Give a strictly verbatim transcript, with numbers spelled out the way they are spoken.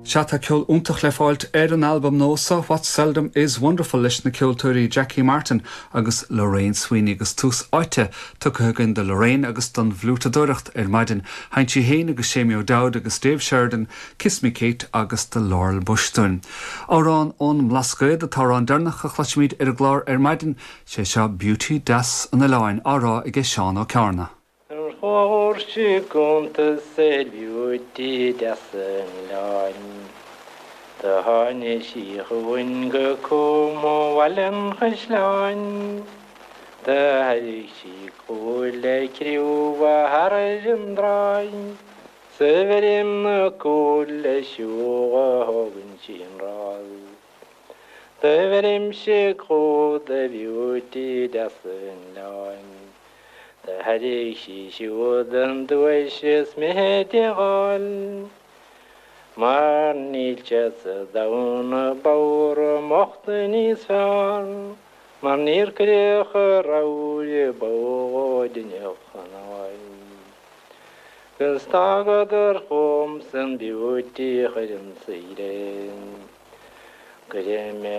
Sea tá ceol iontach le fáilt ar an albam nua seo What Seldom is Wonderful leis na ceoltóirí Jackie Martin agus Lorraine Sweeney agus tús áite tugtha againn do Lorraine agus don bhfliútadóireacht ar maidin. Sheinn sí féin agus Séamie O'Dowd agus Dave Sheridan, Kiss Me Kate agus The Laurel Bush dúinn. Amhrán ón mBlascaod an t-amhrán deireanach a chloisfimid ar an gclár ar maidin sé seo Beauty Deas an Oileáin á rá ag Seán Ó Cearna. Chuir cuntas ar Beauty deas an oileáin. Do tháinig sí chugainn go Cúm Bhaile an Chaisleáin. Do thairrig sí cúil le criúmha thar an dtráigh, Sa bheirim na cúil le siúdh a thógann sí an rás. Do bheirimse cúl do Beauty deas an oileáin. Do thairrig sí siúd an duais is mithid a fháil. Mar níl sé sa domhan a b'fhearr i m'ucht níos fearr, mar níor cuireadh a rogha bó duine chanáil. Gus tagadar chugam san Beauty chuir an saoire. Cuirfidh mé